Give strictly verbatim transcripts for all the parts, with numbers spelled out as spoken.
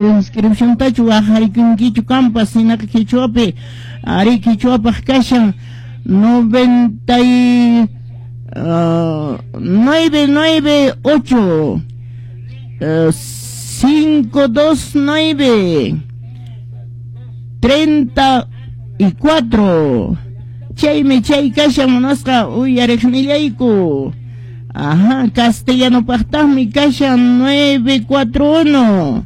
Inscripciontachu waqarikunkichu kampas hinaqa Qichwapi ari Qichwapaq kashan noventa y nueve nueve ocho cinco dos nueve treinta y cuatro. Chaymi chay kashan munasqa uyariqnillayku. Ajá, castellanopaqtaqmi kashan nueve cuatro uno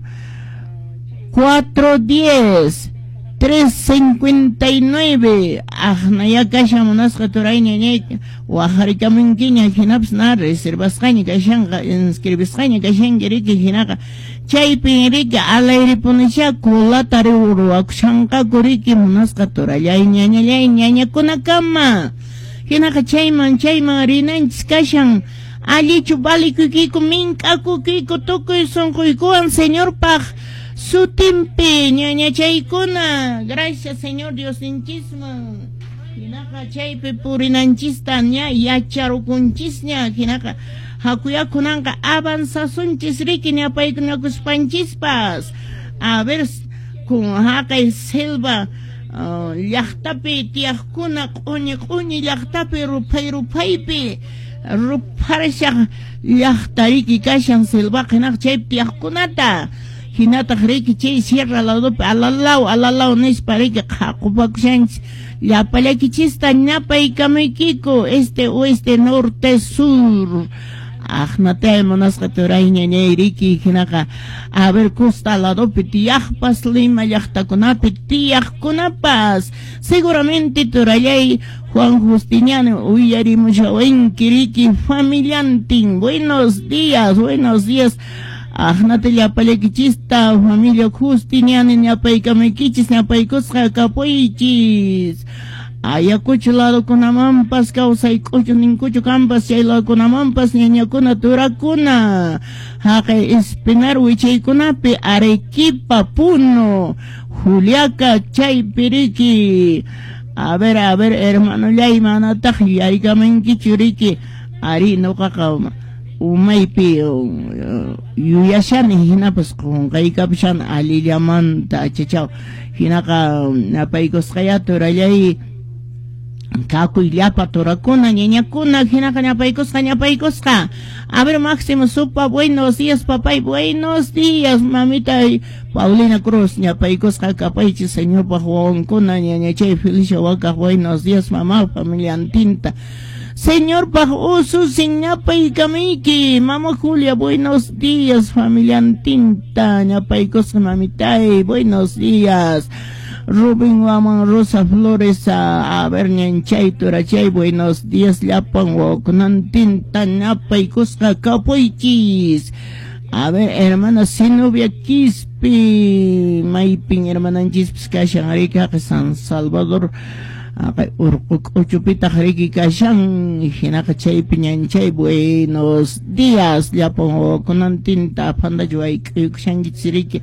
cuatro diez tres cincuenta y nueve. Aqnaya kashan munasqa turay ñañay waqarikamunkiña hinapas na reservasqaña kashanqa inscribisqaña kashanki riki hinaqa chaypin riki alayripunisha kulata ruwakushanqaku riki munasqa turallay ñañallay ñañakunakama hinaqa chayman chayman rinanchis kashan allichu valikuykiku mink'akukiku tukuy sunquykuwan Señorpaq sutimpi ñañachaykuna. Gracias Señor Diosninchisman hinaqa chaypi purinanchista ña yacharukunchisña hinaqa hakuyakunanqa avanzasunchis riki ñapaykunakuspanchispas. A ver kun haqay selva llaqtapi tiyaqkuna q'uñi q'uñi llaqtapi ruphay ruphaypi rupharashaq llaqta riki kashan selvaqa hinaqa chaypi tiyaqkunata hinataq riki chay sierra ladopi alalaw alalaw nispa riki qhaqupakushanchis llapallaykichista ñapaykamaykiku este oeste norte sur. Aqnatay munasqa turay ñañay riki hinaqa a ver costa ladopi tiyaqpas Lima llaqtakunapi tiyaqkunapas seguramente turallay Juan Justiniano uyarimushawanki riki familiantin. Buenos días, buenos días. Aqnata llapallaykichista familia Justiniano ñapaykamaykichis ñapaykusqa kapuychis. Ayacucho ladokunamanpas kawsay k'uchu ninkuchu kampas chay ladokunamanpas ñañakuna turakuna haqay Espinar wichaykunapi Arequipa Puno Juliaca chaypi riki. A ver, a ver hermanollay manataq yuyarikamankichu riki ari nuqaqa umaypi yuyashani hinapas qunqaykapushan allillamanta achachaw hinaqa ñapaykusqaya turallay kakuy llapa turakuna ñañakuna hinaqa ñapaykusqa ñapaykusqa. A ver Máximo Supa, buenos días papay, buenos días mamita Paulina Cruz ñapaykusqa kapaychis señorpaq wawankuna ñañachay Felicia Wakaq, buenos días mamá familiantinta. Señorpaq ususin ñapaykamiyki mamá Julia, buenos días familiantinta ñapaykusqa mamitay, buenos días. Rubén Guamán Rosa Flores, a, a ver ñanchay turachay, buenos días llapan wawakunantinta ñapaykusqa kapuychis. A ver hermana Zenobia Quispe maypin hermananchispis kashan riki haqi San Salvador haqay urqu k'uchupitaq riki kashan hinaqa chaypi ñanchay buenos días llapan wawakunantinta aphantachu wayk'uykushankichis riki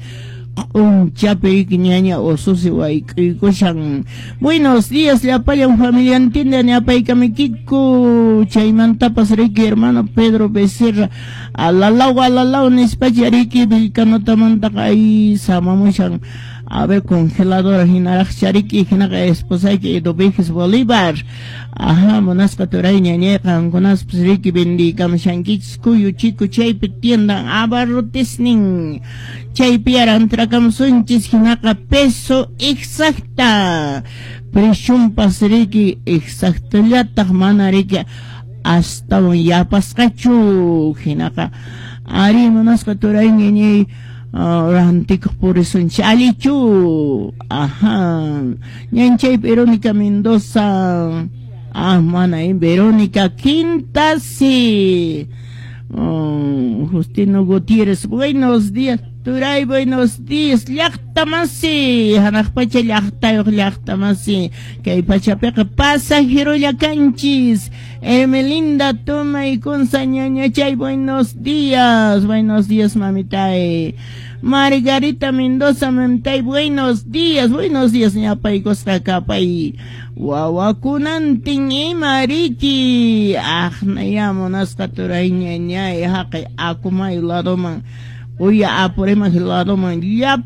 q'unchapi ñaña ususi wayk'uykushan. Buenos días llapallan familiantinta ñapaykamiykiku chaymantapas riki hermano Pedro Becerra alalaw alalaw nispacha riki Vilcanotamantaqa ay samamushan. A ver congeladora hinaraq chariki hinaqa esposayki Eduviges Bolívar. Ajá munasqa turay ñañay qankunaspas riki vendiykamushankichis kuyu chiku chaypi tiendan abarrotesnin chaypi arantrakamusunchis hinaqa peso exacta preciunpas riki exactallataq mana riki astawan yapasqachu hinaqa ari munasqa turay ñañay rantikuq purisunchis allichu. Ajá ñanchay Verónica Mendoza ah mana Verónica Quintasi. Oh, Justino Gutiérrez, buenos días turay, buenos días llaqtamasi hanaq pacha llaqtayuq llaqtamasi kay pachapiqa pasajerolla kanchis. Hermelinda Toma y Kunza ñañachay, buenos días, buenos días mamitay. Margarita Mendoza mamitay, buenos días, buenos días ñapaykusqa kapay wawakunantin ima riki aqnaya munasqa turay ñañay haqay akumayu ladoman Uya Apurímac ladoman llapa.